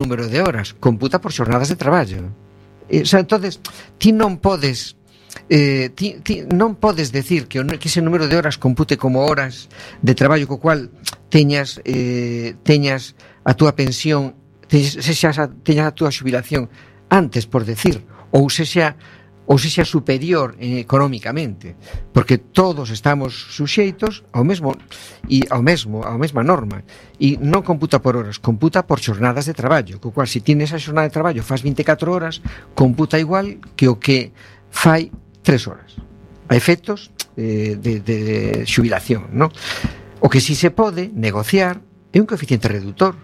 número de horas, computa por xornadas de traballo. Entonces, ti non podes non podes decir que ese número de horas compute como horas de traballo co cual teñas a túa pensión, teñas a túa xubilación antes, por decir, ou sexa superior económicamente, porque todos estamos suxeitos ao mesma norma, e non computa por horas, computa por xornadas de traballo, co cual se tienes a xornada de traballo faz 24 horas, computa igual que o que fai 3 horas a efectos de xubilación, non? O que si se pode negociar é un coeficiente reductor,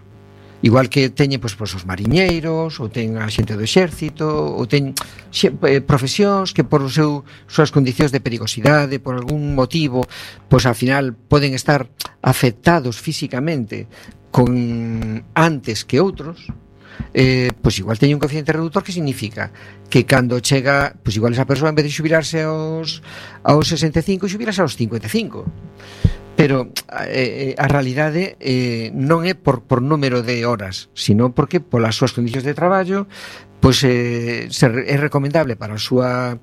igual que teñen os mariñeiros, ou ten a xente do exército, ou ten profesións que por súas condicións de perigosidade, por algún motivo, pois ao final poden estar afectados físicamente antes que outros. Pois igual teñen un coeficiente reductor, que significa que cando chega, pois igual esa persoa, en vez de xubilarse aos 65, xubilase aos 55. Pero a realidade non é por número de horas, sino porque polas súas condicións de traballo, pois é recomendable para a súa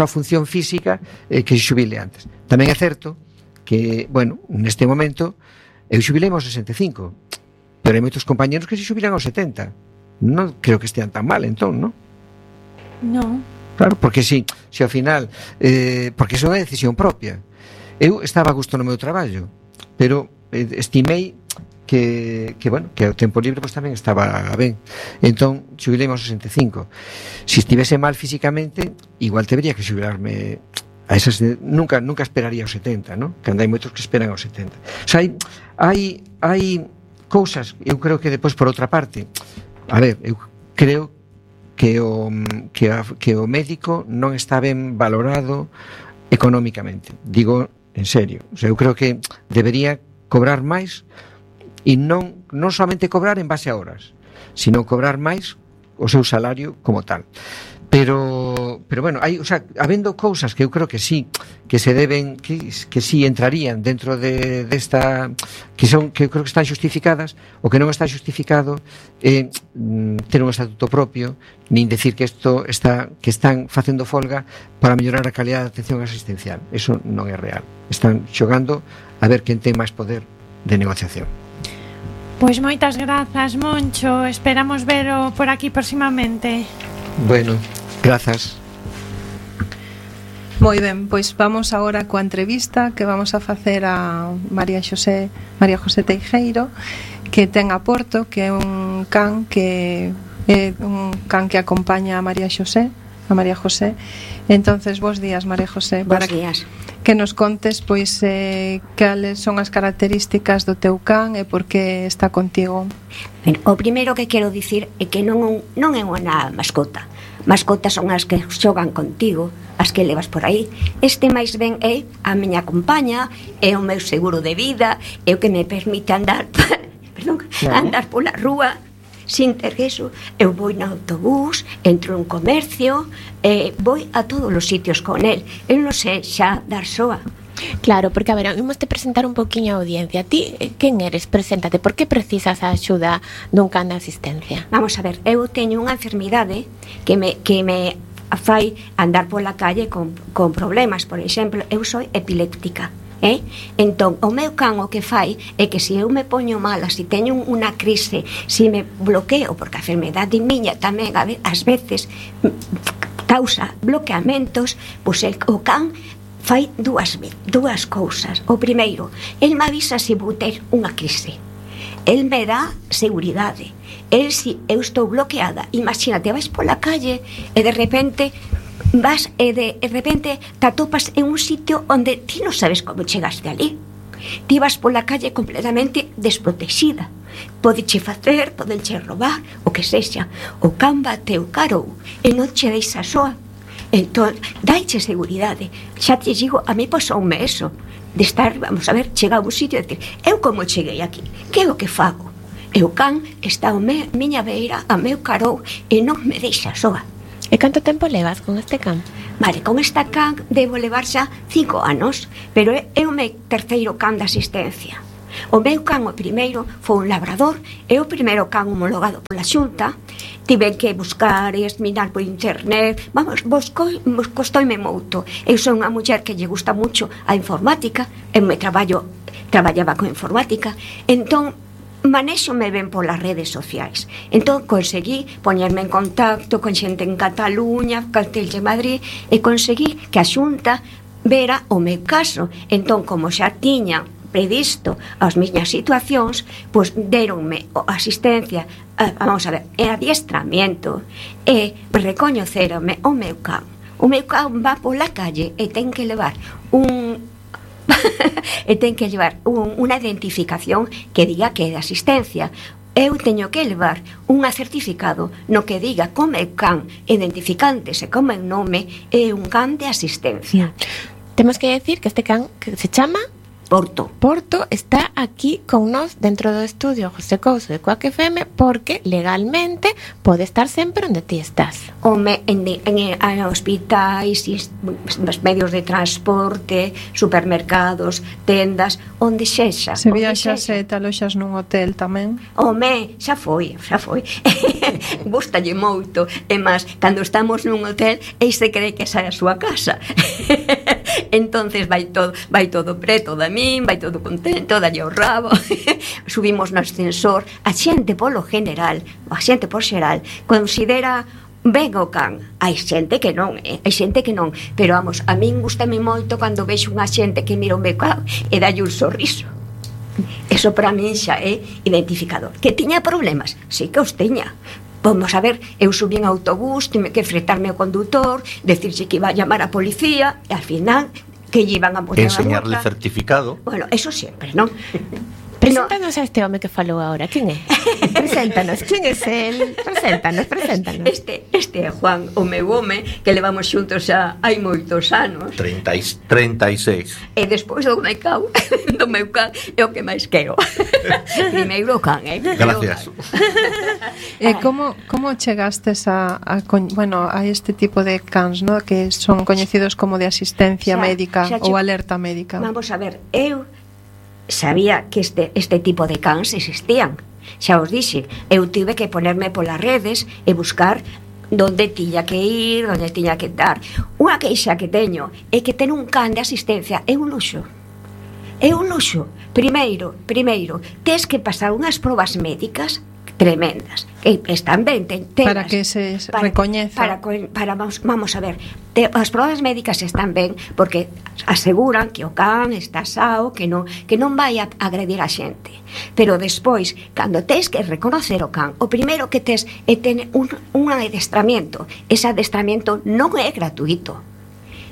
función física que se xubile antes. Tamén é certo que, bueno, neste momento eu xubilei aos 65, pero hai moitos compañeros que se xubilan aos 70. Non creo que estean tan mal, entón, non? Non. Claro, porque si ao final, porque iso é unha decisión propia. Eu estaba a gusto no meu traballo, pero estimei que o tempo libre pois tamén estaba ben. Entón, xubilei aos 65. Se estivese mal físicamente, igual debería que xubilarme a esas, nunca esperaría aos 70, non? Que hai moitos que esperan aos 70. O sea, hai cousas, eu creo que depois, por outra parte, eu creo que o médico non está ben valorado económicamente, digo en serio. O sea, eu creo que debería cobrar máis, e non somente cobrar en base a horas, sino cobrar máis o seu salario como tal. Pero bueno, habendo cousas que eu creo que sí, que se deben, que sí entrarían dentro desta, que eu creo que están xustificadas. O que non está xustificado é ter un estatuto propio, nin decir que están facendo folga para mellorar a calidad de atención asistencial. Eso non é real. Están xogando a ver quen ten máis poder de negociación. Pois moitas grazas, Moncho. Esperamos vero por aquí próximamente. Bueno, grazas. Moi ben, pois vamos agora coa entrevista que vamos a facer a María José Teijeiro, que ten a Porto, que é un can que acompaña a María José. Entonces, bos días, María José. Bos días. Que nos contes, pois, cales son as características do teu can e por que está contigo. Ben, o primeiro que quero dicir é que non é unha mascota. Mascotas son as que xogan contigo, as que levas por aí. Este máis ben é a miña compaña, é o meu seguro de vida, é o que me permite andar andar pola rúa sin ter eso. Eu vou no autobús, entro en comercio, vou a todos os sitios con el. Eu non sei xa dar soa. Claro, porque, a ver, imos te presentar un poquinho a audiencia. Ti, quen eres? Preséntate. Por que precisas a axuda dun can de asistencia? Vamos a ver, eu teño unha enfermidade que me fai andar pola calle con problemas. Por exemplo, eu sou epiléptica. Entón, o meu can o que fai é que se eu me poño mala, se teño unha crise, se me bloqueo, porque a enfermedade miña tamén ás veces causa bloqueamentos, pois o can fai dúas cousas. O primeiro, el me avisa se vou ter unha crise, el me dá seguridade. El, se eu estou bloqueada, imagínate, vais pola calle e de repente te atopas en un sitio onde ti non sabes como chegaste ali. Ti vas pola calle completamente desprotexida. Podeche roubar, o que sexa. O can bateu carou e non che deixa soa. Entón, daiche seguridade. Xa te digo, a mí pasoume eso, de estar, vamos a ver, chegar a un sitio e decir, eu como cheguei aquí, que é o que fago? E o can está a miña beira, a meu carou e non me deixa soa. E canto tempo levas con este can? Vale, con esta can debo levar xa 5 anos, pero é o meu terceiro can de asistencia. O meu can o primeiro foi un labrador, e o primeiro can homologado pola Xunta. Tive que buscar e mirar por internet. Vamos, costoime moito. Eu son unha muller que lle gusta mucho a informática, eu traballaba con informática, entón manéxome ben polas redes sociais. Entón conseguí poñerme en contacto con xente en Cataluña, Castilla e Madrid, e conseguí que a Xunta vera o meu caso. Entón, como xa tiña previsto as miñas situacións, pois deronme asistencia, vamos a ver, e adiestramiento, e recoñeceronme o meu can. O meu can va pola calle e ten que levar unha identificación que diga que é de asistencia. Eu teño que levar un certificado no que diga como é can, identificándose como é o nome, é un can de asistencia. Temos que decir que este can que se chama Porto está aquí con nós dentro do estudio José Couso de Coac FM, porque legalmente pode estar sempre onde ti estás. En hospitais, nos medios de transporte, supermercados, tendas, onde sexa. Se viaxas e te aloxas nun hotel tamén. Xa foi. Gústalle moito. E máis, cando estamos nun hotel, e se cree que esa é a súa casa. Entonces vai todo preto da min, vai todo contento, dalle o rabo. Subimos no ascensor. A xente por xeral considera ben o can. Hai xente que non, pero vamos, a min gustame moito cando vexo unha xente que mira o meu can e dalle un sorriso. Eso para min xa é identificador. Que tiña problemas? Sí que os tiña. Vamos a ver, eu subí en autobús, tive que fretarme ao condutor, decirse que iba a llamar a policía, e al final que lle iban a poner enseñarle certificado. Bueno, eso sempre, non? Preséntanos a este home que falou agora. ¿Quién é? Preséntanos, ¿quién é el? Preséntanos. Este é Juan, o meu home, que levamos xuntos xa hai moitos anos. 36. E despois do meu can é o que máis quero. Primeiro o can, Gracias. Como chegastes a este tipo de cans, ¿no? Que son coñecidos como de asistencia médica ou alerta médica? Vamos a ver, eu sabía que este tipo de cans existían. Xa os dixe, eu tive que ponerme polas redes e buscar onde tiña que ir, onde tiña que dar. Unha queixa que teño é que ter un can de asistencia é un luxo. Primeiro, tes que pasar unhas probas médicas tremendas, que están ben para que se recoñeza. Vamos a ver, as probas médicas están ben porque aseguran que o can está sao, que non vai a agredir a xente. Pero despois, cando tes que reconocer o can, o primeiro que tes é ter un adestramento. Ese adestramento non é gratuito.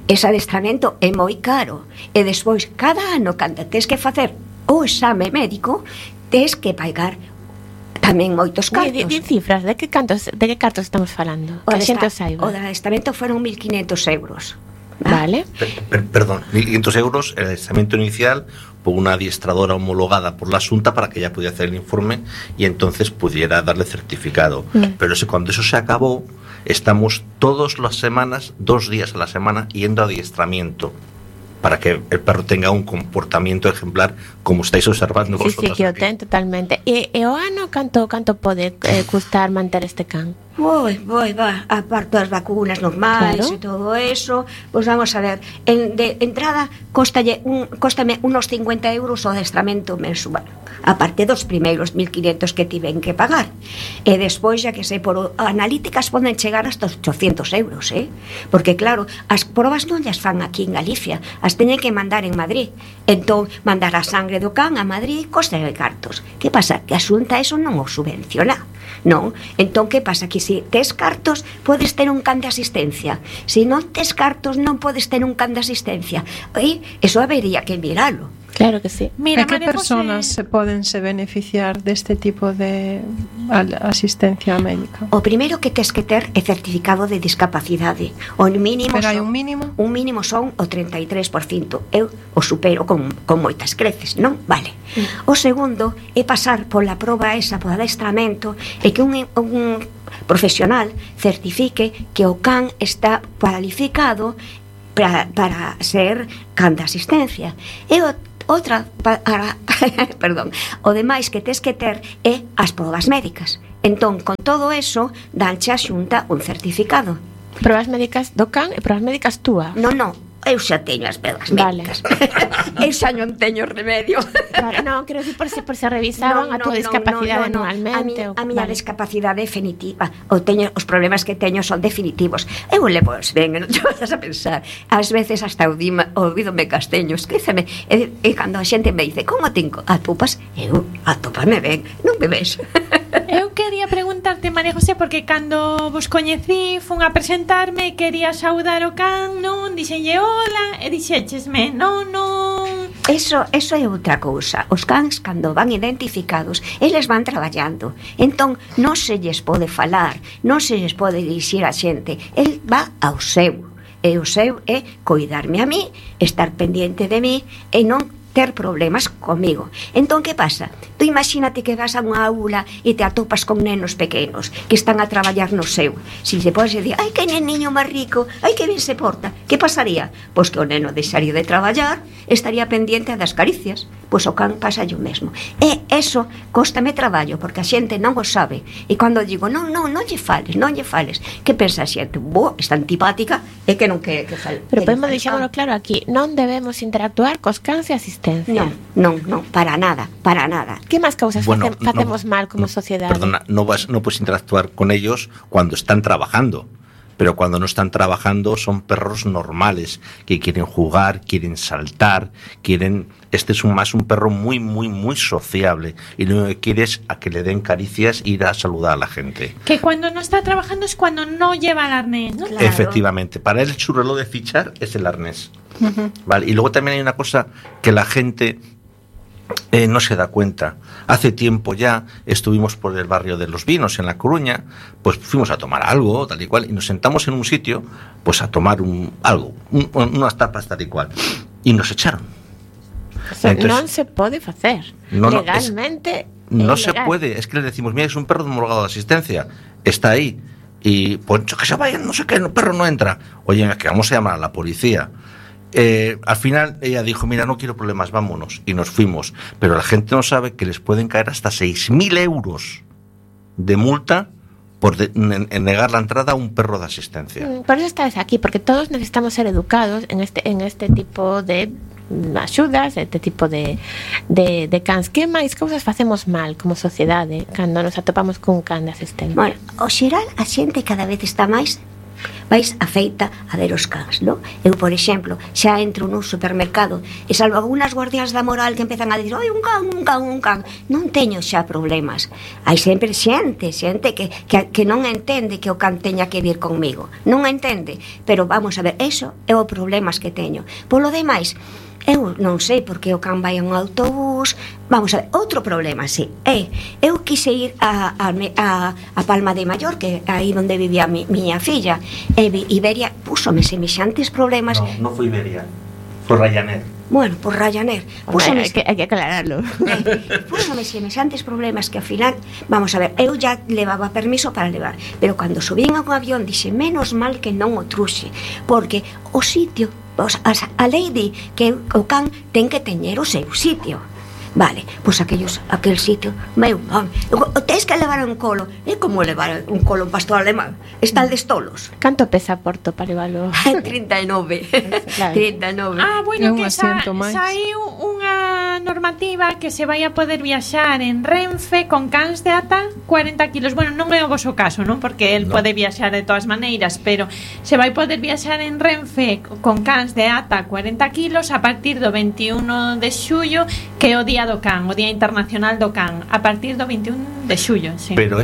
Ese adestramento é moi caro. E despois, cada ano, cando tes que facer o exame médico, tes que pagar tamén moitos cartos. Di cifras, de que cartos estamos falando? O adestramento foron 1.500 euros. Vale. Perdón, 1.500 euros el adiestramiento inicial por una adiestradora homologada por la Xunta para que ella pudiera hacer el informe y entonces pudiera darle certificado. Pero cuando eso se acabó, estamos todas las semanas, 2 días a la semana, yendo a adiestramiento para que el perro tenga un comportamiento ejemplar, como estáis observando vosotros. Sí, que o ten totalmente. E o ano canto pode custar manter este can? Aparte das vacunas normais, claro, e todo eso, pois vamos a ver, de entrada cóstame unos 50 euros o adestramento mensual, aparte dos primeiros 1.500 que tiven que pagar, e despois, xa que sei, por analíticas poden chegar hasta 800 euros, porque claro, as probas non llas fan aquí en Galicia, as teñen que mandar en Madrid. Entón, mandar a sangre do can a Madrid costa de cartos. Que pasa? Que a Xunta eso non o subvenciona, non? Entón, que pasa? Que se tes cartos, podes ter un can de asistencia. Se non tes cartos, non podes ter un can de asistencia. E eso habería que miralo. Claro que sí. Mira, que persoas se poden beneficiar deste tipo de asistencia médica? O primeiro que tes que ter é certificado de discapacidade. O mínimo. Pero hai un mínimo? Un mínimo son o 33%. Eu o supero con moitas creces, non? Vale. O segundo é pasar pola proba esa, por adestramento, e que un profesional certifique que o can está cualificado para ser can de asistencia. E Outra perdón, o demais que tes que ter é as probas médicas. Entón, con todo eso, danche a Xunta un certificado. Probas médicas do can e probas médicas túa. Non, eu xa teño as probas médicas. Eu xa non teño remedio. Vale, non, quero dicir por se revisaban a túa discapacidade anualmente. A miña discapacidade definitiva. Os problemas que teño son definitivos. Eu levo ben, non te vas a pensar. Ás veces hasta ouvídome casteño, esquéceme. E cando a xente me dice, como tengo atopas? Eu, atopame ben, non me ves. Eu quería preguntarte, María José, porque cando vos coñecí, fun a presentarme, quería saudar o can, non? Dixenlle hola, e dixéchesme, non. Eso é outra cousa. Os cans, cando van identificados, eles van traballando. Entón, non se lles pode falar, non se lles pode dixir a xente. El va ao seu. E o seu é coidarme a mí, estar pendiente de mí e non ter problemas comigo. Entón, que pasa? Tú imagínate que vas a unha aula e te atopas con nenos pequenos que están a traballar no seu. Si se podes decir, ai, que neniño máis rico, ai, que ben se porta, que pasaría? Pois que o neno deixaría de traballar, estaría pendiente das caricias. Pois o can pasa o mesmo. E eso cóstame traballo, porque a xente non o sabe. E cando digo, non lle fales, que pensa a xente? Está antipática e que non que fale. Pero podemos deixámoslo claro aquí, non debemos interactuar cos cans e asistencia. Non, para nada. Que máis causas facemos mal como sociedade? Perdona, no puedes interactuar con ellos cuando están trabajando. Pero cuando no están trabajando son perros normales que quieren jugar, quieren saltar, este es más un perro muy, muy, muy sociable y lo que quiere es a que le den caricias e ir a saludar a la gente. Que cuando no está trabajando es cuando no lleva el arnés, ¿no? Claro. Efectivamente, para él su reloj de fichar es el arnés. Vale, y luego también hay una cosa que la gente no se da cuenta. Hace tiempo ya estuvimos por el barrio de Los Vinos en La Coruña, pues fuimos a tomar algo tal y cual y nos sentamos en un sitio pues a tomar unas tapas tal y cual y nos echaron. Entonces, non se pode facer legalmente. No se puede, es que le decimos, mira, es un perro homologado de asistencia, está ahí y pues que se vayan, no sé qué, el perro no entra. Oye, es que vamos a llamar a la policía. Al final ella dijo, mira, no quiero problemas, vámonos, y nos fuimos. Pero la gente no sabe que les pueden caer hasta 6.000 euros de multa por negar la entrada a un perro de asistencia. Por eso estás aquí, porque todos necesitamos ser educados en este tipo de axudas, este tipo de cans. Que máis cousas facemos mal como sociedade cando nos atopamos cun can de asistencia? Bueno, ao xeral a xente cada vez está máis afeita a ver os cans, non? Eu, por exemplo, xa entro nun supermercado e salvo algunhas guardias da moral que empezan a dicir, oi, un can, non teño xa problemas. Hai sempre xente que non entende que o can teña que vir conmigo, non entende, pero vamos a ver, eso é o problemas que teño. Polo demais, eu non sei porque o can vai a un autobús. Vamos a ver, outro problema, sí, eu quise ir a Palma de Mallorca, aí onde vivía miña filla, e Iberia púsome semexantes problemas. No foi Iberia, foi Ryanair. Bueno, por Ryanair. Hai que aclararlo. Púsome semexantes problemas que ao final, vamos a ver, eu já levaba permiso para levar, pero cando subín a un avión dixe, menos mal que non o truxe, porque o sitio, a lei di que o can ten que teñer o seu sitio. Vale, pois aquel sitio, meu, tens que levar un colo. É como levar un colo un pastor alemán. Están destolos. Canto pesa Porto para levarlo? 39. Claro. 39. Ah, bueno, que saiu unha normativa que se vai a poder viaxar en Renfe con cans de ata 40 kilos. Bueno, non é o voso caso, non? Porque el pode viaxar de todas maneiras, pero se vai poder viaxar en Renfe con cans de ata 40 kilos a partir do 21 de xullo, que é o día do can, o Día Internacional do Can, a partir do 21 de xullo, sí. Pero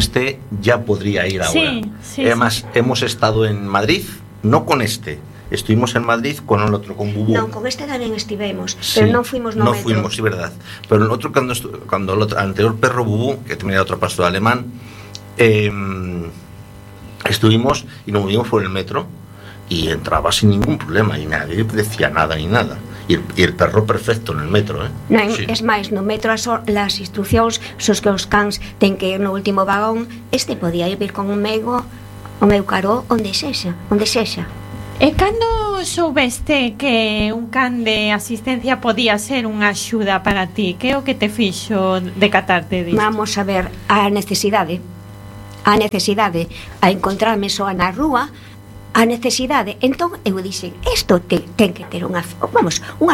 ya podría ir ahora. Sí, además, hemos estado en Madrid, no con estuvimos en Madrid con el otro, con Bubú. No, con tamén estivemos, pero non fuimos no metro. No fuimos, sí, verdad. Pero el otro, cuando el anterior perro Bubú, que tenía otro pastor alemán, estuvimos y nos movimos por el metro y entraba sin ningún problema y nadie decía nada ni nada. Y el perro perfecto en el metro, Non, sí. Es máis, no metro as instruccións son que os cans ten que ir no último vagón. Podía ir con o meu caró onde sexa. E cando soubeste que un can de asistencia podía ser unha axuda para ti? Que é o que te fixo decatarte disto? Vamos a ver, a necesidade, a encontrarme soa na rúa, a necesidade. Entón eu dixen, isto ten que ter unha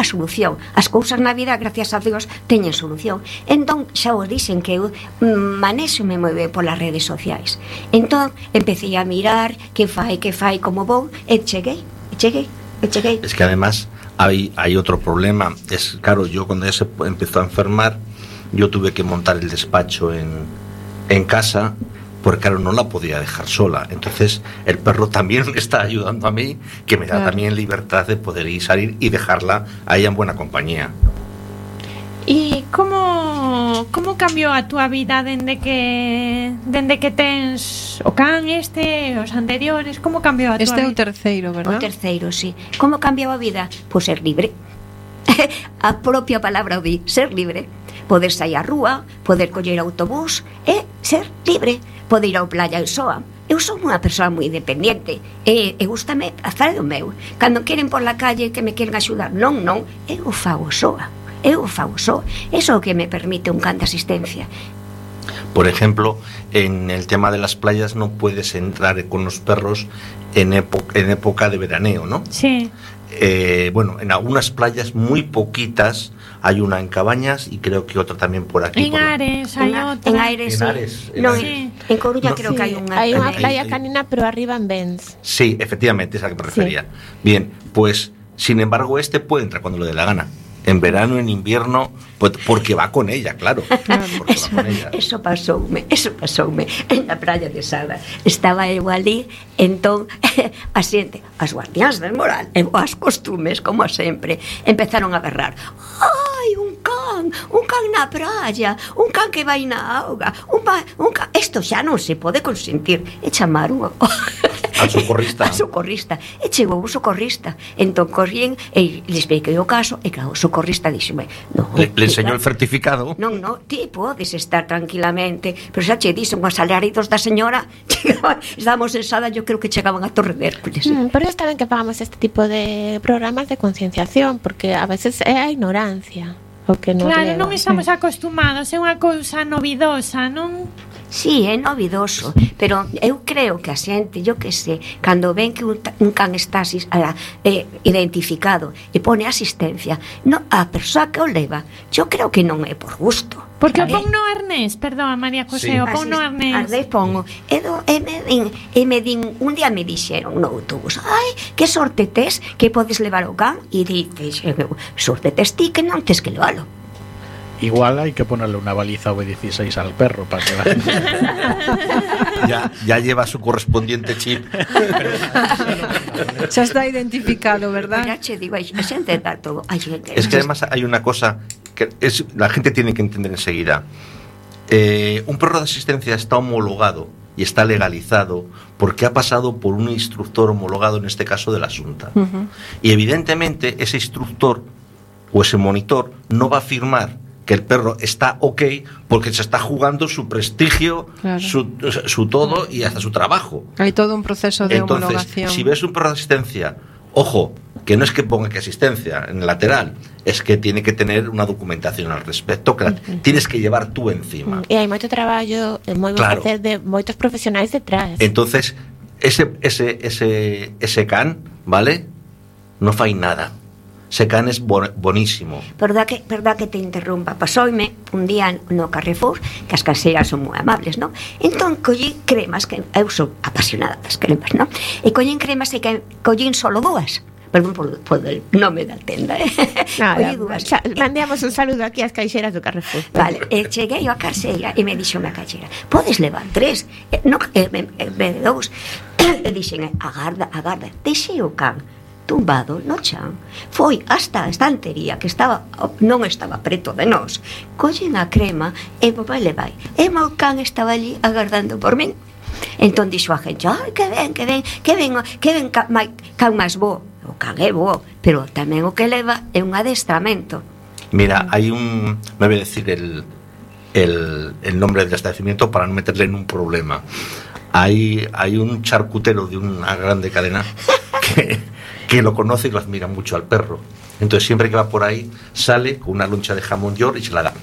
solución. As cousas na vida, gracias a Dios, teñen solución. Entón xa vos dixen que eu manéxome moi ben polas redes sociais. Entón empecé a mirar que fai, como vou, e cheguei. Es que además hay otro problema. Es claro, yo cuando ella se empezó a enfermar, yo tuve que montar el despacho en casa, porque claro, no la podía dejar sola. Entonces el perro también me está ayudando a mí, que me da también libertad de poder ir, salir y dejarla a ella en buena compañía. E como cambiou a túa vida dende que tens o can os anteriores? Como cambiou a túa vida? Este é o terceiro, verdad? O terceiro, sí. Como cambiou a vida? Pois ser libre. A propia palabra o di, ser libre. Poder sair á rúa, poder coller autobús e ser libre. Poder ir ao playa e soa. Eu son unha persoa moi independiente e gustame facer o meu. Cando queren por la calle que me queren axudar, non, eu o fago soa. Eso é o que me permite un can de asistencia. Por ejemplo, en el tema de las playas no puedes entrar con los perros en época de veraneo, ¿no? Sí. Bueno, en algunas playas muy poquitas, hay una en Cabañas y creo que otra también por aquí. En Ares hay otra. En Ares, sí. En Coruña creo que hay una. Hay una playa canina, pero arriba en Benz. Sí, efectivamente, esa que me refería. Bien, pues, sin embargo, puede entrar cuando le dé la gana. En verano, en invierno, pues porque va con ella, claro. Eso pasoume en la playa de Sada. Estaba eu ali, entón a xente, as guardiáns del moral e as costumes, como sempre, empezaron a berrar: ai, un can na praia, un can que vai na auga, un can. Isto xa non se pode consentir. E chamaron al socorrista. E chegou o socorrista. Entón corrían e les expliquei o caso e claro, o socorrista dixome, le enseñó el certificado. Non, ti podes estar tranquilamente, pero xa che dixen os alaridos da señora, estábamos en Sada, yo creo que chegaban a Torre de Hércules. Pero está ben que pagamos este tipo de programas de concienciación, porque a veces é a ignorancia o que nos claro, leva. Non estamos acostumados, é unha cousa novidosa, non? Sí, é novidoso, pero eu creo que a xente, yo que sei, cando ven que un can está identificado e pone asistencia, a persoa que o leva, yo creo que non é por gusto. Porque o pon no arnés, perdón, María José, o pon no arnés. Arnés pongo, e me din, un día me dixeron no autobús, ai, que sorte tes que podes levar o can, e dices, sorte tes ti que non tes que levalo. Igual hay que ponerle una baliza V16 al perro para que ya lleva su correspondiente chip. Ya está identificado, ¿verdad? Ya te digo, hay gente de todo. Es que además hay una cosa que la gente tiene que entender enseguida. Un perro de asistencia está homologado y está legalizado porque ha pasado por un instructor homologado, en este caso de la Xunta. Y evidentemente ese instructor o ese monitor no va a firmar que el perro está ok porque se está jugando su prestigio, claro, su todo y hasta su trabajo. Hay todo un proceso de homologación. Si ves un perro de asistencia, ojo, que no es que ponga que asistencia en el lateral, es que tiene que tener una documentación al respecto que tienes que llevar tú encima. E hai moito traballo, moi bon facer de moitos profesionais detrás. Entonces, ese can, ¿vale? No fai nada. Ese can es bonísimo. Verdad que te interrumpa. Pasoume un día no Carrefour, que as caseiras son moi amables, non? Entón collín cremas, que eu sou apasionada das cremas, non? E collín cremas e collín solo dúas. Perdón por el nome da tenda, Nada, mandamos un saludo aquí ás caixeras do Carrefour. Vale, cheguei á caixeira e me dixo a caixeira, podes levar 3, non, 2. E dixen, agarda, deixei o can tumbado no chan, foi hasta a estantería que non estaba preto de nós, collen a crema e vai le vai, e meu can estaba allí agardando por min. Entón dixo a gente, ai, que ven can máis bo. O can é bo, pero tamén o que leva é un adestramento. Mira, hay me voy a decir el nombre del establecimiento para no meterle en un problema. Hay un charcutero de una grande cadena que lo conoce y lo admira mucho al perro. Entonces siempre que va por ahí sale con una loncha de jamón york y se la da.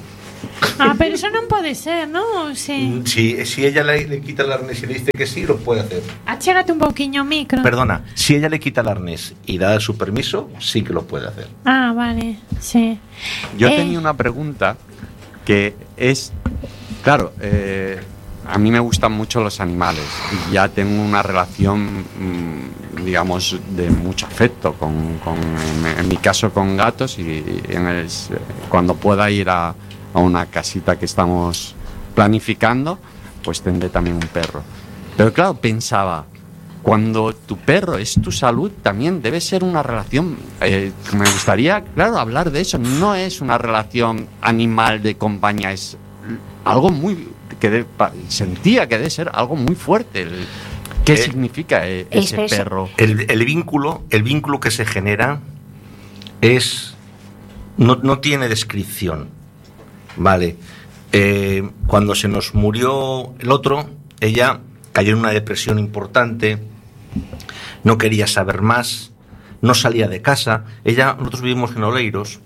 Pero eso non pode ser, non? Sí. Si ella le quita el arnés y le dice que sí, lo puede hacer. Achégate un pouquiño o micro. Perdona, si ella le quita el arnés y da su permiso, sí que lo puede hacer. Vale, sí. Yo tenía una pregunta que es, claro, a mí me gustan mucho los animales y ya tengo una relación, digamos, de mucho afecto en mi caso con gatos y cuando pueda ir a una casita que estamos planificando, pues tendré también un perro. Pero claro, pensaba, cuando tu perro es tu salud, también debe ser una relación, me gustaría, claro, hablar de eso. No es una relación animal de compañía, es algo muy, sentía que debe ser algo muy fuerte. ¿Qué significa ese perro? El vínculo que se genera no tiene descripción. Vale, cuando se nos murió el otro, ella cayó en una depresión importante, no quería saber más, no salía de casa. Nosotros vivimos en Oleiros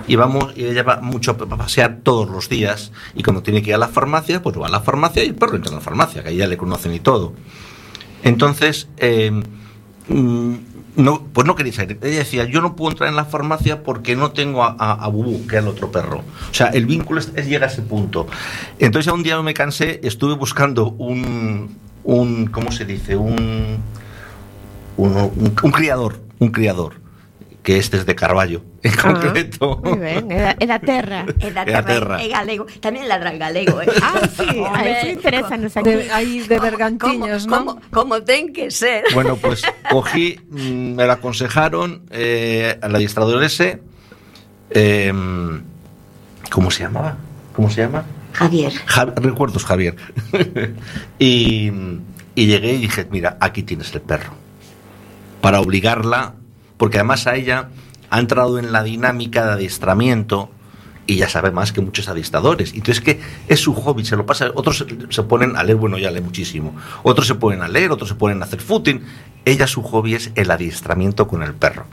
y ella va mucho a pasear todos los días, y cuando tiene que ir a la farmacia, pues va a la farmacia y el perro entra en la farmacia, que ahí ya le conocen y todo. Entonces, no quería salir. Ella decía, yo no puedo entrar en la farmacia porque no tengo a Bubú, que es el otro perro. O sea, el vínculo llega a ese punto. Entonces, un día me cansé, estuve buscando un ¿cómo se dice? Un criador, que este es de Carballo, en concreto. Muy ben, é da terra. É galego, tamén ladra en galego, sí, eso interesa nos aquí. Aí de Bergantiños, ¿no? Como ten que ser. Bueno, pues cogí, me lo aconsejaron al adiestrador ese, ¿cómo se llama? Javier. Recuerdos, Javier. y llegué y dije, mira, aquí tienes el perro. Para obligarla, porque además a ella ha entrado en la dinámica de adiestramiento y ya sabe más que muchos adiestradores. Entonces, que es su hobby, se lo pasa. Otros se ponen a leer, bueno, ya lee muchísimo. Otros se ponen a leer, otros se ponen a hacer footing. Ella, su hobby es el adiestramiento con el perro.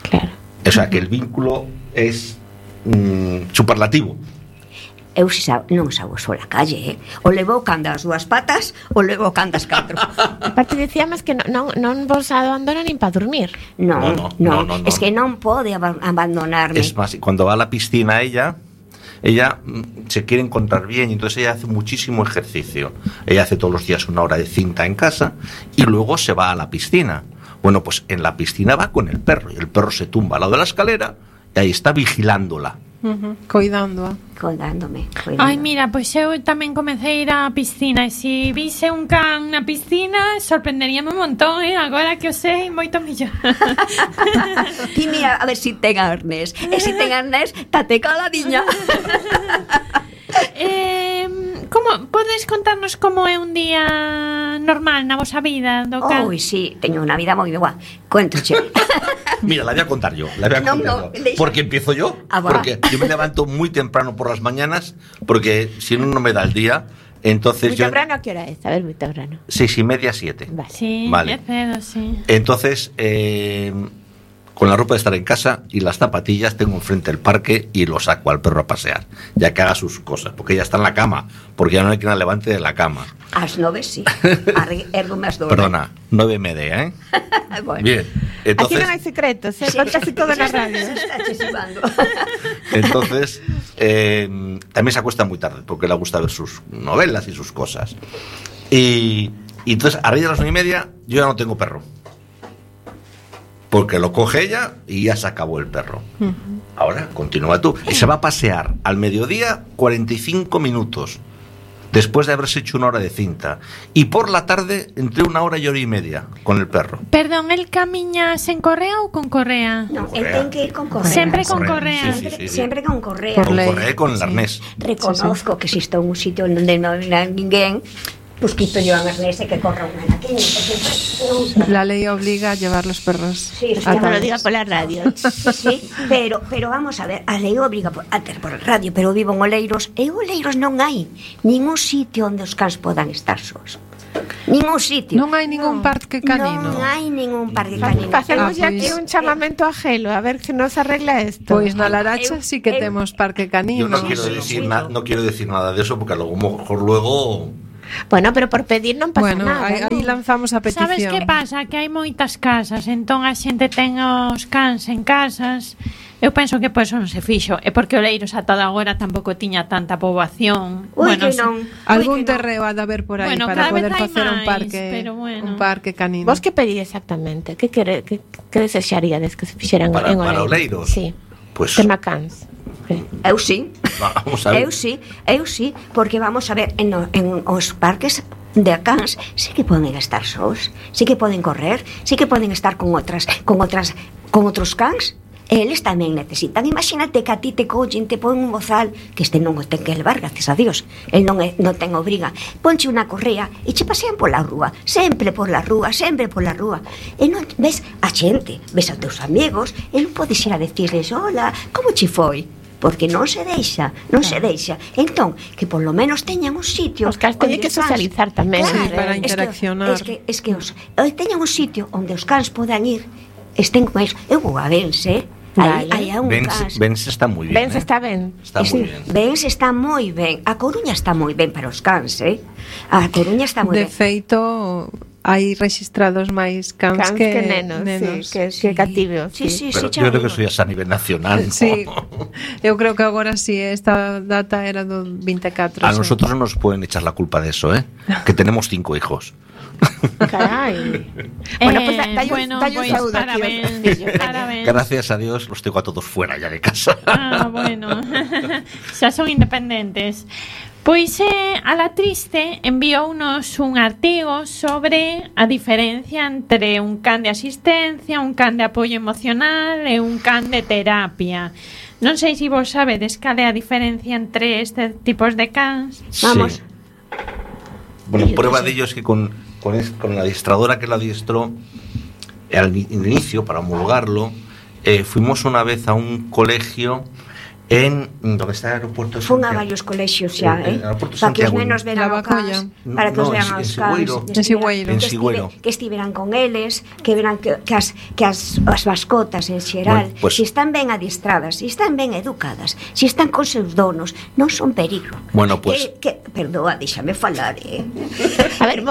Claro. O sea, que el vínculo es superlativo. Eu non sago só a calle, O levo cando as dúas patas, o levo cando as catro. Aparte decíamos que non vos abandonan nin para dormir. No. Es que non pode abandonarme. Es más, cuando va a la piscina ella se quiere encontrar bien, y entonces ella hace muchísimo ejercicio. Ella hace todos los días 1 hora de cinta en casa y luego se va a la piscina. Bueno, pues en la piscina va con el perro, y el perro se tumba al lado de la escalera y ahí está vigilándola. Coidándome. Ai, mira, pois eu tamén comecei a ir á piscina, e se vise un can na piscina sorprenderíame un montón, agora que o sei moito millor. Ti mira, a ver si ten arnés. E se ten arnés, tate caladiña. Como podes contarnos como é un día normal na vosa vida do can? Sí, teño unha vida moi boa. Cuéntoche. Mira, la voy a contar yo. Porque empiezo yo. Porque yo me levanto muy temprano por las mañanas, porque si no me da el día. Entonces muy temprano, ¿a qué hora es? A ver, muy temprano. 6:30, 7. Vale. Sí, vale. Cedo, sí. Entonces, con la ropa de estar en casa y las zapatillas, tengo enfrente el parque y lo saco al perro a pasear, ya que haga sus cosas, porque ella está en la cama, porque ya no hay quien la levante de la cama. A las 9 sí. Ergo más doble. Perdona, 9:30, Bueno. Bien. Entonces, aquí no hay secretos, cuenta así todo en la radio. Entonces, también se acuesta muy tarde, porque le gusta ver sus novelas y sus cosas. Y entonces, a raíz de las 9:30, yo ya no tengo perro. Porque lo coge ella y ya se acabó el perro. Ahora, continúa tú. Y se va a pasear al mediodía 45 minutos, después de haberse hecho 1 hora de cinta. Y por la tarde, entre 1 hora y 1:30 con el perro. Perdón, ¿el camiña sen correa ou con correa? No, él ten que ir con correa. Sempre con correa. Sí. Siempre con correa. Con correa y con el arnés. Reconozco que si estou en un sitio onde non hai ninguén, pues quito yo a arnés e que corra unha naqueña. La ley obliga a llevar los perros. Sí, que lo diga por la radio. Sí, pero vamos a ver, a lei obriga a ter por radio, pero vivo en Oleiros, e Oleiros non hai ningún sitio onde os cans podan estar sós. Ningún sitio. Non hai ningún parque canino. Non hai ningún parque canino. Facemos aquí un chamamento a Gelo, a ver que nos arregla esto. Pois na Laracha sí que temos parque canino. Yo no quiero decir nada de eso porque a lo mejor luego... Bueno, pero por pedir non pasa nada. Bueno, aí lanzamos a petición. Sabes que pasa? Que hai moitas casas, entón a xente ten os cans en casas. Eu penso que por eso non se fixo. É porque Oleiros ata agora tampouco tiña tanta poboación. Que non. Algún terreo ha de haber por aí para poder facer un parque canino. Vos que pedí exactamente? Que desexaríades que se fixeran en Oleiros? Para Oleiros? Sí. Pues... Tema cans. Eu sí. Vamos a ver. Eu sí, porque vamos a ver en os parques de cans sí que poden estar sós, sí que poden correr, sí que poden estar con outros cans. Eles tamén necesitan. Imagínate que a ti te collen, te pon un bozal, que este non o ten que levar, gracias a Dios, el non ten obriga, ponche unha correa e che pasean pola rúa, sempre pola rúa, e non ves a xente, ves a teus amigos, e non podes ir a decirles hola, como che foi? Porque non se deixa. Entón, que por lo menos teñan un sitio. Os cans teñen que socializar tamén, para interaccionar. Es que teñan un sitio onde os cans podan ir, estén con eles. Eu vou a Bense, aí hai un cans. Bense está moi ben. Bense está ben. Está moi ben. Bense está moi ben. A Coruña está moi ben para os cans, A Coruña está moi ben. De feito, hai registrados máis cans que nenos. Sí, que cativeos. Sí, pero yo creo que eso ya es a nivel nacional, ¿no? Sí, eu creo que agora sí, esta data era do 24. A nosotros no nos pueden echar la culpa de eso, que tenemos 5 hijos. Carai. Bueno, pues parabéns. Gracias a Dios los tengo a todos fuera ya de casa. Bueno. Xa son independentes. Pois a La Triste enviounos un artigo sobre a diferencia entre un can de asistencia, un can de apoio emocional e un can de terapia. Non sei se vos sabedes cal é a diferencia entre estes tipos de cans. Vamos. Sí. Bueno, prueba de ello es que con la adiestradora que la adiestró al inicio, para homologarlo, fuimos una vez a un colegio en donde está el aeropuerto de Santiago. Fun a varios colexios xa, para que os nenos veran o cans, para que os vean os cans. En Sigüeiro. Que estiveran con eles, que veran que as mascotas en xeral, bueno, pues, se están ben adiestradas, se están ben educadas, se están con seus donos, non son peligro. Bueno, pues... Perdoa, déxame falar, A ver,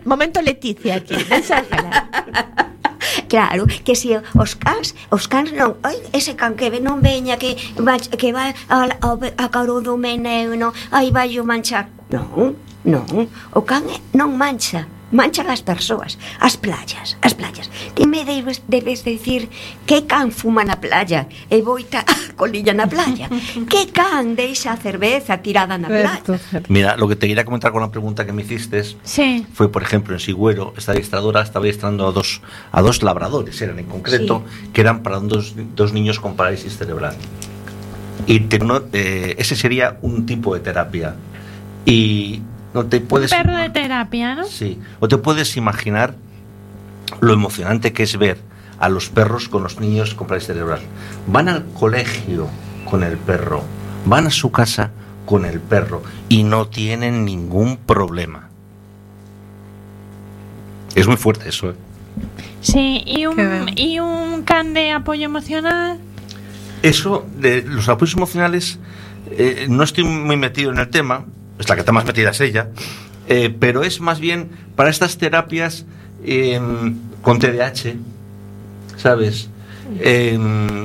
momento Leticia aquí, deixa falar. Claro, que se os cans non, ese can que non veña que vai a caro do meneo, aí vai o manchar. Non, o can non mancha as persoas, as playas. Ti me debes decir que can fuma na playa e boita a colilla na playa, que can deixa a cerveza tirada na playa. Mira, lo que te quería comentar con la pregunta que me hiciste fue, por ejemplo, en Sigüero, esta adiestradora estaba adiestrando a dos labradores, eran en concreto, que eran para dos niños con parálisis cerebral. Y ese sería un tipo de terapia. Y no te puedes... Un perro de terapia, ¿no? Sí. O te puedes imaginar lo emocionante que es ver a los perros con los niños con parálisis cerebral. Van al colegio con el perro, van a su casa con el perro y no tienen ningún problema. Es muy fuerte eso, Sí, y un can de apoyo emocional. Eso, de los apoyos emocionales, no estoy muy metido en el tema. Es la que está más metida es ella, pero es más bien para estas terapias con TDAH, ¿sabes?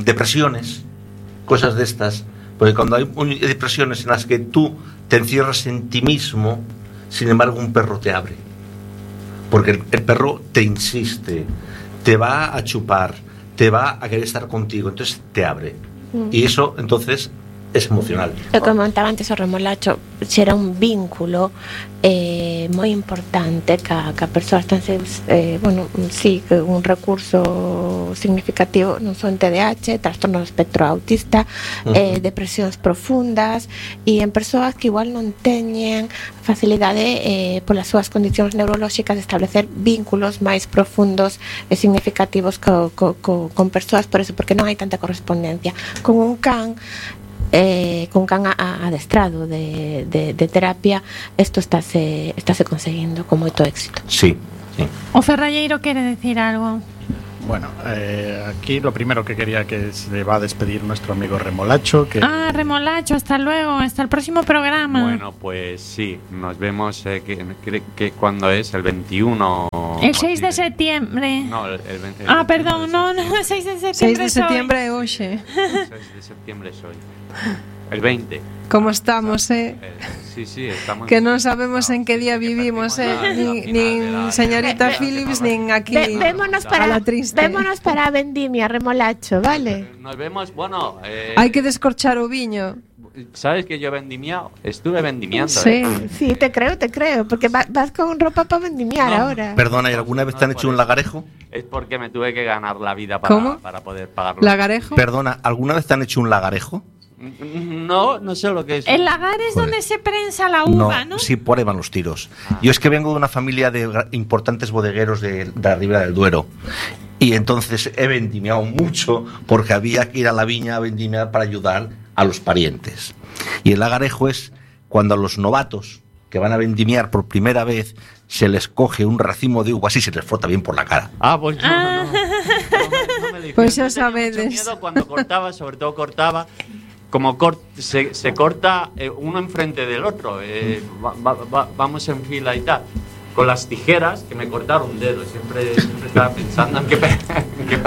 Depresiones, cosas de estas, porque cuando hay depresiones en las que tú te encierras en ti mismo, sin embargo un perro te abre, porque el perro te insiste, te va a chupar, te va a querer estar contigo, entonces te abre, y eso entonces es emocional. Eu comentaba antes o remolacho, xera un vínculo moi importante ca persoas tan un recurso significativo non son TDAH, trastorno do espectro autista, depresións profundas, e en persoas que igual non teñen facilidade polas súas condicións neurolóxicas de establecer vínculos máis profundos e significativos con persoas, por eso, porque non hai tanta correspondencia. Con un can con can adestrado de terapia, isto estáse conseguindo con moito éxito. Sí. O Ferralleiro quere decir algo. Bueno, aquí lo primero que quería que se va a despedir nuestro amigo Remolacho. Remolacho, hasta luego, hasta el próximo programa. Bueno, pues sí, nos vemos que cuando es el 21. El 6 de septiembre. No, el 20. Perdón, no, 6 de septiembre. 6 de septiembre é hoxe. 6 de septiembre soy. El 20. Como estamos, Sí, estamos. Que non sabemos en que día vivimos, nin señorita Phillips, nin aquí. Vémonos para a vendimia, Remolacho, vale? Nos vemos, bueno. Hai que descorchar o viño. ¿Sabes que yo vendimiado? Estuve vendimiando. Sí, sí, te creo, porque vas con ropa para vendimiar ahora. Perdona, ¿y alguna vez te han hecho un lagarejo? Es porque me tuve que ganar la vida para poder pagarlo. ¿Lagarejo? Perdona, ¿alguna vez te han hecho un lagarejo? No sé lo que es. El lagar es donde se prensa la uva, ¿no? Sí, por ahí van los tiros. Yo es que vengo de una familia de importantes bodegueros de la Ribera del Duero. Y entonces he vendimiado mucho porque había que ir a la viña a vendimiar para ayudar a los parientes. Y el lagarejo es cuando a los novatos que van a vendimiar por primera vez se les coge un racimo de uvas y se les frota bien por la cara. Pues no me dijeron. Pues ya sabedes. Miedo cuando cortaba, sobre todo cortaba. Como se corta uno enfrente del otro, vamos en fila y tal. Con las tijeras que me cortaron un dedo, siempre estaba pensando en qué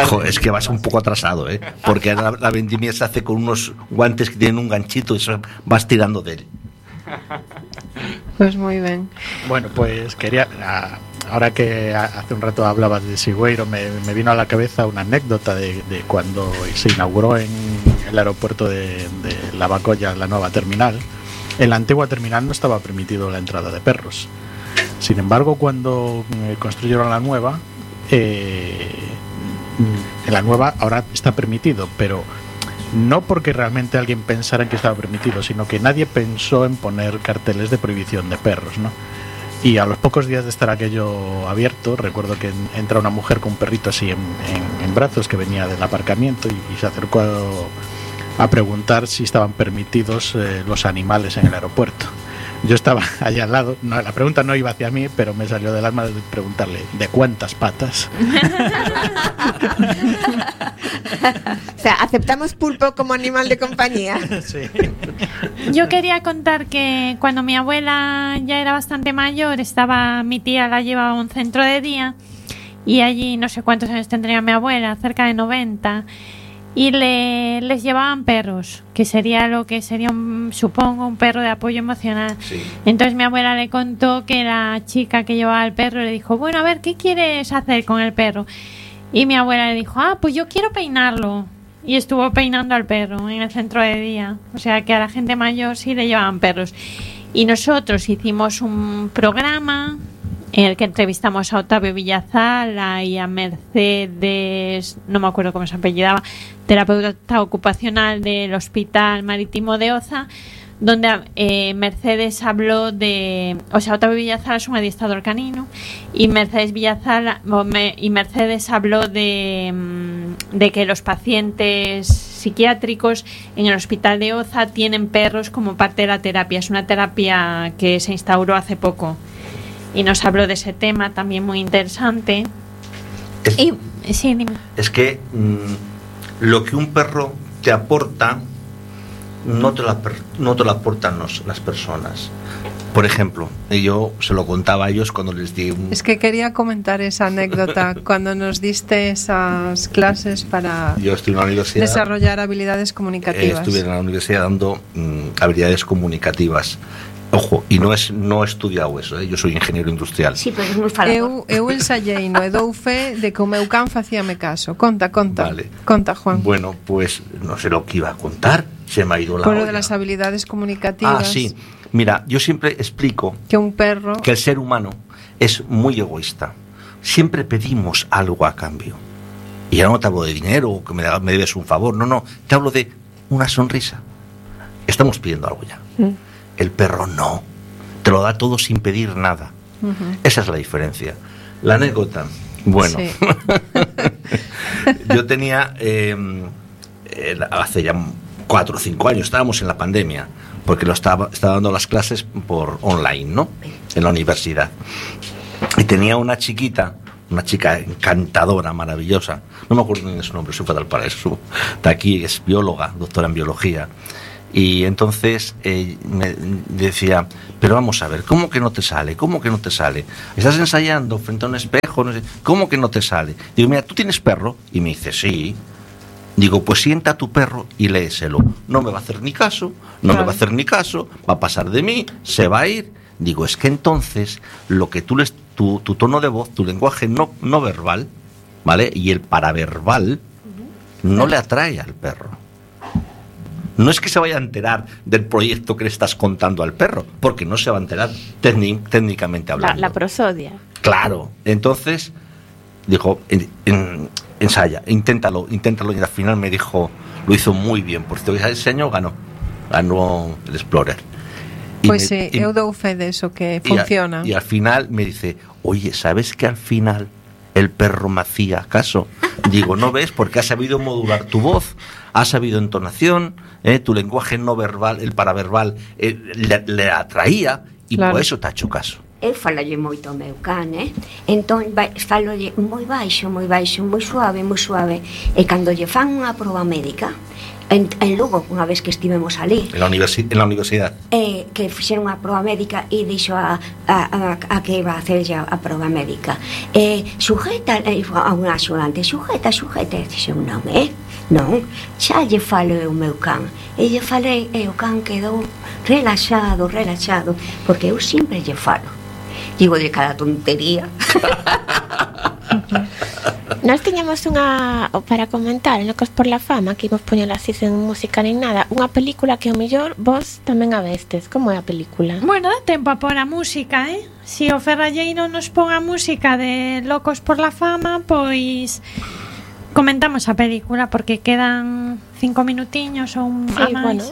Joder, es que vas un poco atrasado, porque la vendimia se hace con unos guantes que tienen un ganchito y eso vas tirando de él. Pues muy bien. Bueno, pues quería, ahora que hace un rato hablabas de Sigüeiro, me vino a la cabeza una anécdota de cuando se inauguró en el aeropuerto de Lavacolla la nueva terminal. En la antigua terminal no estaba permitido la entrada de perros. Sin embargo, cuando construyeron la nueva, en la nueva ahora está permitido, pero no porque realmente alguien pensara en que estaba permitido, sino que nadie pensó en poner carteles de prohibición de perros, ¿no? Y a los pocos días de estar aquello abierto, recuerdo que entra una mujer con un perrito así en brazos que venía del aparcamiento y se acercó a preguntar si estaban permitidos los animales en el aeropuerto. Yo estaba allá al lado, la pregunta no iba hacia mí, pero me salió del alma de preguntarle ¿de cuántas patas? O sea, ¿aceptamos pulpo como animal de compañía? Sí. Yo quería contar que cuando mi abuela ya era bastante mayor, mi tía la llevaba a un centro de día y allí no sé cuántos años tendría mi abuela, cerca de 90, y les llevaban perros, que sería lo que sería, supongo, un perro de apoyo emocional. Sí. Entonces mi abuela le contó que la chica que llevaba el perro le dijo, bueno, a ver, ¿qué quieres hacer con el perro? Y mi abuela le dijo, pues yo quiero peinarlo. Y estuvo peinando al perro en el centro de día. O sea que a la gente mayor sí le llevaban perros. Y nosotros hicimos un programa en el que entrevistamos a Octavio Villazala y a Mercedes, no me acuerdo cómo se apellidaba, terapeuta ocupacional del Hospital Marítimo de Oza, donde Mercedes habló de, Octavio Villazala es un adiestrador canino y Mercedes habló de que los pacientes psiquiátricos en el Hospital de Oza tienen perros como parte de la terapia. Es una terapia que se instauró hace poco y nos habló de ese tema también muy interesante. Sí, dime. Es que lo que un perro te aporta no te lo aportan las personas. Por ejemplo, yo se lo contaba a ellos cuando les di Es que quería comentar esa anécdota cuando nos diste esas clases para yo estoy en la universidad, desarrollar habilidades comunicativas. Estuve en la universidad dando habilidades comunicativas. Ojo, y no he estudiado eso, yo soy ingeniero industrial. Sí, pero es moi falador. Eu ensayei no e dou fe de que o meu can facíame caso. Conta. Vale. Conta, Juan. Bueno, pues no sé lo que iba a contar, se me ha ido la Por lo olla. de las habilidades comunicativas. Sí. Mira, yo siempre explico que un perro, que el ser humano es muy egoísta. Siempre pedimos algo a cambio. Y ya no te hablo de dinero o que me debes un favor, no, te hablo de una sonrisa. Estamos pidiendo algo ya. El perro no, te lo da todo sin pedir nada. Esa es la diferencia. La anécdota, bueno, sí. Yo tenía hace ya 4 o 5 años, estábamos en la pandemia, porque estaba dando las clases por online, ¿no? En la universidad. Y tenía una chica encantadora, maravillosa, no me acuerdo ni de su nombre, soy fatal para eso, de aquí, es bióloga, doctora en biología. Y entonces me decía, pero vamos a ver, ¿cómo que no te sale? ¿Cómo que no te sale? Estás ensayando frente a un espejo, no sé, ¿cómo que no te sale? Digo, mira, ¿tú tienes perro? Y me dice, sí. Digo, pues sienta a tu perro y léeselo. No me va a hacer ni caso, me va a hacer ni caso, va a pasar de mí, se va a ir. Digo, es que entonces lo que tu tono de voz, tu lenguaje no verbal, ¿vale? Y el paraverbal no le atrae al perro. No es que se vaya a enterar del proyecto que le estás contando al perro, porque no se va a enterar técnicamente hablando. La prosodia. Claro. Entonces, dijo, ensaya, inténtalo. Y al final me dijo, lo hizo muy bien. Por cierto, ese año ganó el Explorer. Pois eu dou fe de eso, que funciona. Y al final me dice, oye, ¿sabes que al final el perro me hacía caso? Digo, ¿no ves? Porque has sabido modular tu voz, has sabido entonación, tu lenguaje no verbal, el paraverbal, le atraía, y claro, por eso te ha hecho caso. Eu falalle moito ao meu can, entón falolle moi baixo, moi suave, e cando lle fan unha proba médica en Lugo, unha vez que estivemos ali en la universidade, que fixeron unha proba médica e dixo a que iba a hacer a proba médica, sujeta a un axudante, sujeta, dixo, non, xa lle falo o meu can, e lle falei, e o can quedou relaxado, porque eu sempre lle falo. Digo de cada tontería. Nós tiñamos unha para comentar en Locos por la Fama, que imos poñela así sen música nin nada, unha película que ao mellor vos tamén a vestes. Como é a película? Bueno, dá tempo a pôr a música, Si o Ferralleiro nos pon a música de Locos por la Fama, pois comentamos a película, porque quedan 5 minutiños ou un máis. Bueno,